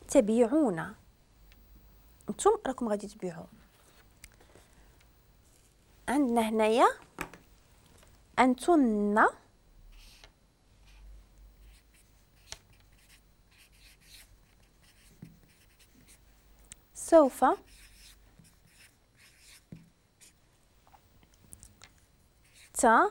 تبيعون، انتم راكم غادي تبيعوا. عندنا هنايا أنتن سوف تبي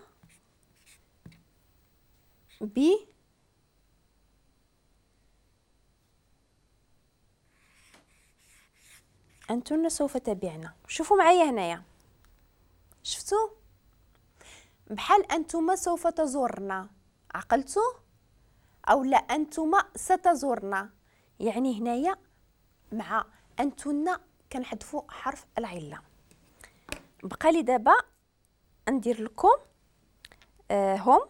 أنتن سوف تبيعن. شوفوا معايا هنايا، شفتوا بحال أنتما سوف تزورنا، عقلتوا أو لا؟ أنتما ستزورنا، يعني هنايا مع أنتن كنحذفوا حرف العلة. بقى لي دابا ندير لكم هم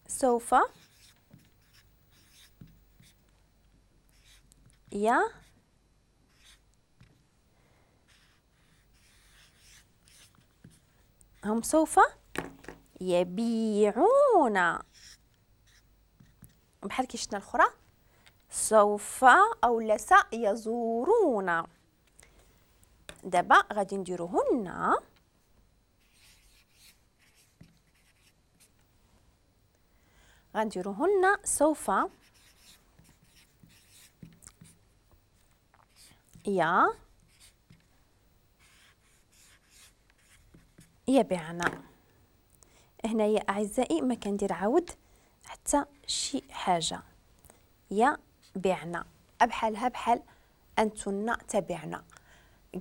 سوف يا هم سوف يبيعون، بحال كي شفنا الاخرى سوف او لا سيزورون. دابا غادي نديروهن غنديروهن سوف يا يبيعنا. هنايا اعزائي ما كندير عاود حتى شي حاجة، يبيعنا بحالها بحال انتن تبعنا.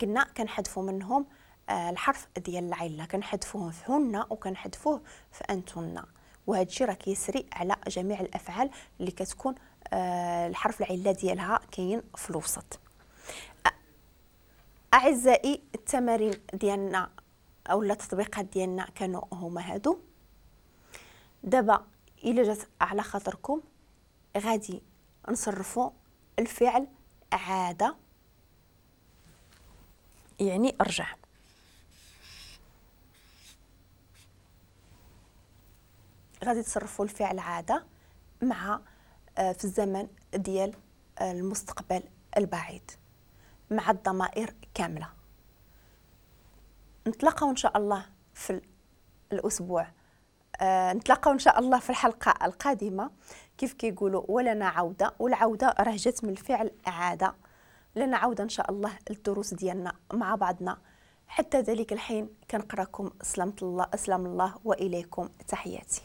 قلنا كنحذفوا منهم الحرف ديال العلة، كنحذفوه في هن وكنحذفوه في انتن، وهذا الشيء راه كيسري على جميع الافعال اللي كتكون الحرف العلة ديالها كاين في الوسط. اعزائي التمارين ديالنا او التطبيقات ديالنا كانوا هما هادو. دابا الا جات على خاطركم غادي نصرفوا الفعل عادة، يعني ارجع. غادي تصرفوا الفعل عادة مع في الزمن ديال المستقبل البعيد مع الضمائر كاملة. نتلاقاو ان شاء الله في الاسبوع، نتلاقاو ان شاء الله في الحلقة القادمة. كيف كيقولوا ولنا عوده، والعودة راه جات من الفعل عادة. لنا عوده ان شاء الله للدروس ديالنا مع بعضنا. حتى ذلك الحين كنقراكم سلامة الله، اسلام الله، واليكم تحياتي.